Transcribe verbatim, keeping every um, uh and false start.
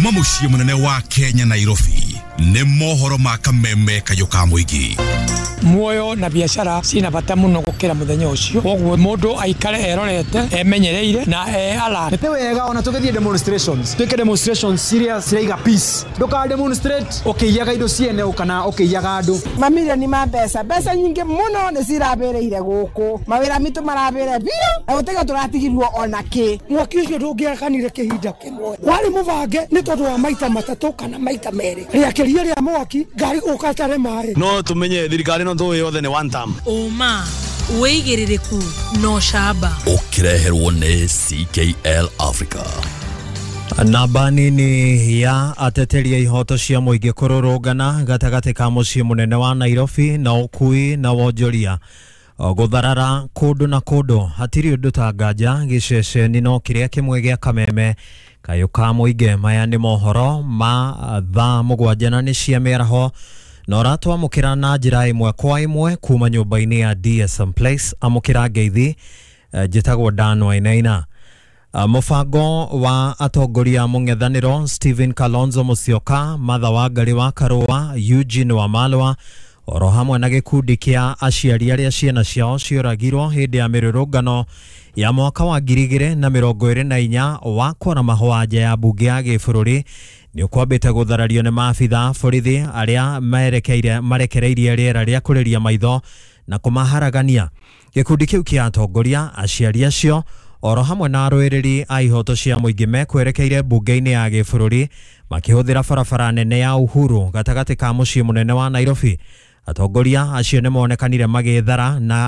Kuma mũciĩ mũnene wa Kenya, Nairobi, nĩ mohoro ma kameme kayũ ka mũingĩ. Muoyo na biacara cina bata muno gukira muthenya ucio, koguo mundu aikare erorete, emenyereire na e alert. Nĩ wega ona tũgĩthiĩ demonstrations, twĩke demonstrations ciria ciraiga peace. Ndũka demonstrate ũkĩiyaga indo ciene kana ũkĩiyaga andũ. Mamirioni ma mbeca, mbeca nyingĩ mũno nĩ cirabĩrĩire gũkũ, mawĩra mitũ marabĩre biũ na gũtiga tũratigirwo ona kĩ. Mwaki ũcio ndũngĩakanire kĩhinda kĩmwe, warĩ mũbange nĩ tondũ wa maita matatũ kana maita merĩ rĩakĩria rĩa mwaki ngari gũka tare maĩ. No tumenye thirikari no tũĩ yothe nĩ one term. Ũma, wĩigĩrĩrĩku na ũcamba. Ũkĩreherwo nĩ C K L Africa. Namba nini ya ateteri a ihoto cia mũingĩ kũrũrũngana gatagatĩ ka mũciĩ mũnene wa Nairobi na ũkui na wonjoria gũtharara kũndũ na kũndũ. Hatirĩ ũndũ ta nganja gĩceceni no kĩrĩa kĩmwe gĩa kameme kayũ ka mũingĩ. Maya nĩ mohoro ma thaa mũgwanja na nĩ cia mĩaraho, na ũratwamũkĩra na njĩra ĩmwe kwa ĩmwe kuma nyũmba-inĩ ya D S M Place. Amũkĩra ngeithi, njĩtagwo Dan Wainaina. Mũbango wa atongoria a mũng'ethanĩro Stephen Kalonzo Musyoka, Martha Wangari wa Karũa, Eugene Wamalwa oro hamwe na gĩkundi kĩa aciari arĩa ciana ciao cioragirwo hĩndĩ ya mĩrũrũngano ya mwaka wa ngiri igĩrĩ na mĩrongo ĩrĩ na inya wa kwara mahũa nja ya mbunge ya gĩbũrũri nĩ ũkwambĩte gũtharario nĩ maabitha borithi arĩa merekeire marekereirie rĩera rĩa kũrĩria maitho na kũmaharagania. Gĩkundi kĩu kĩa atongoria, aciari acio oro hamwe na arũĩrĩri a ihoto cia mũingĩ mekwerekeire mbunge-inĩ ya gĩbũrũri makĩhũthĩra barabara nene ya Uhuru gatagatĩ ka mũciĩ mũnene wa Nairobi. Atongoria acio nĩ monekanire magĩthara na